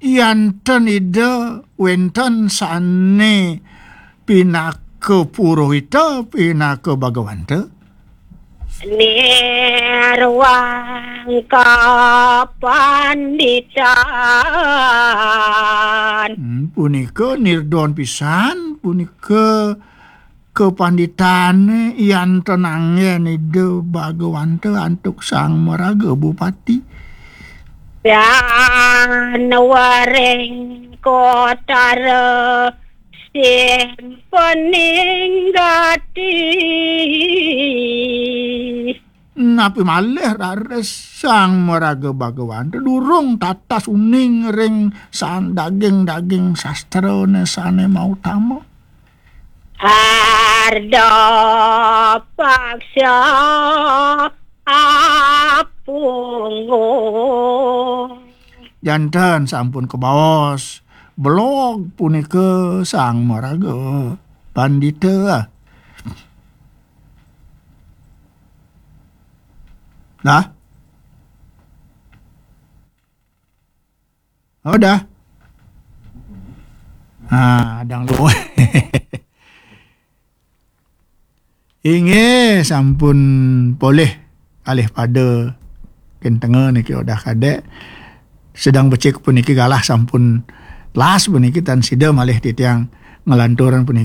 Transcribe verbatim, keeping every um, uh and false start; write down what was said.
Yan ten Ida wenten sane pinaka purohita, pinaka bagawanta. Nirwang kapanditan. Hmm, punika nirdon pisan, punika kapanditane yan ten anggen Ida bagawanta antuk Sang Maraga Bupati. Dan waring kotara simpening gati. Napi malih raris Sang Maraga Bagawanta durung tatas uning ring san daging-daging sastrane sane mautama. Arda paksa apunggung. Janten sampun kebaos belog punika Sang Maraga Pandita. Dah? Oh, dah. Ah, adang lu. Inggih, sampun polih kalih pada kentenga niki Odah Kadek. Sedeng becik puniki galah sampun las puniki tan sida malih titiang nglanturan puniki.